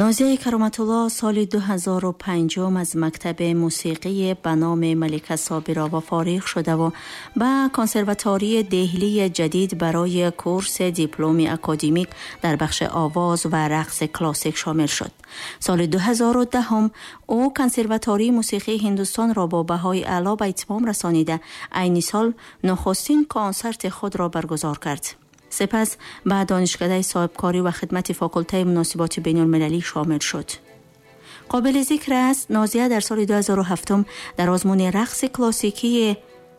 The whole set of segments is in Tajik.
Нозияи Кароматулло соли 2005 аз мактаби мусиқии ба номи Малика Собирова фориғ шудаву ба консерватории Деҳлии ҷадид барои курси дипломи академик дар бахши овоз ва рақси классик шомил шуд. Соли 2010 ӯ консерватории мусиқии Ҳиндустонро бо баҳои аъло ба итмом расонида, айни сол нухустин консерти худро баргузор кард. Сипас ба донишкадаи соҳибкорӣ ва хидмати факултаи муносиботи байналмилалӣ шомил шуд. Қобили зикр аст, Нозия дар соли 2007 дар озмуни рақси классикии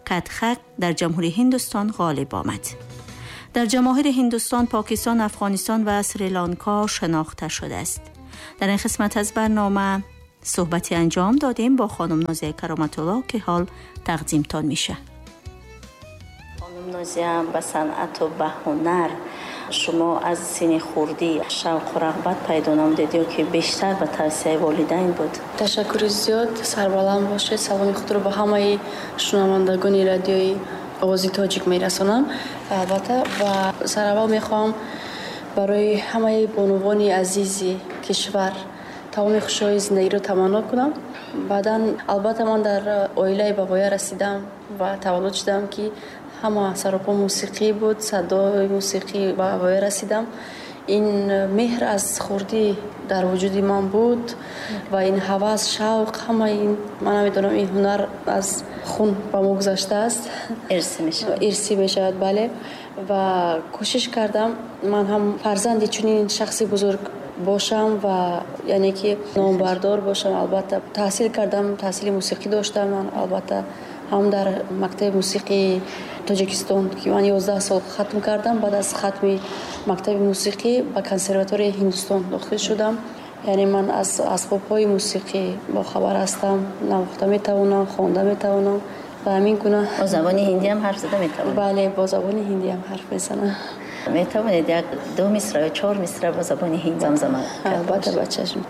Катхак дар Ҷумҳурии Ҳиндустон ғолиб омад. Дар ҷамоҳири Ҳиндустон, Покистон, Афғонистон ва Сри-Ланка шинохта шудааст. Дар ин қисмат аз барнома суҳбате анҷом додем бо хонум Нозияи Кароматулло, ки ҳол тақдимтон мешавад. Хонум Нозия, ба санъату ба ҳунар шумо аз синни хурдӣ шавқу рағбат пайдо намудед ё ки бештар ба тавсияи волидайн буд? Ташаккури зиёд, сарбаланд бошед. Саломи худро ба ҳамаи шунавандагони радиои Овози Тоҷик мерасонам. Албатта, ва сараввал мехоҳам барои ҳамаи бонувони азизи кишвар тамоми хушиҳои зиндагиро таманно кунам. Баъдан, албатта, ман дар оилаи ба воя расидам ва таваллуд шудам, ки ҳама саропо мусиқӣ буд, садои мусиқӣ ба воя расидам. Ин меҳр аз хурдӣ дар вуҷуди ман буд ва ин ҳавас, шавқ, ҳама ин, ман намедонам, ин ҳунар аз хун ба мо гузаштааст. Ирсӣ мешавад. Ирсӣ мешавад, бале. Ва кӯшиш кардам ман ҳам фарзанди чунин шахси бузург бошам ва яъне ки номбардор бошам. Албатта, таҳсил кардам, таҳсили мусиқӣ доштам ман, албатта, ҳам дар мактаби мусиқии Тоҷикистон, ки ман 11 сол хатм кардам. Баъд аз хатми мактаби мусиқӣ ба консерваторияи Ҳиндустон дохил шудам. Яъне ман аз асбобҳои мусиқӣ бохабар ҳастам, навохта метавонам, хонда метавонам ва ҳамин гуна. Бо забони ҳиндӣ ҳам ҳарф зада метавонед? Бале, бо забони ҳиндӣ ҳам ҳарф мезанам. Метавонед як ду мисра ё чор мисра бо забони ҳиндӣ замзама? Албатта, ба чашм.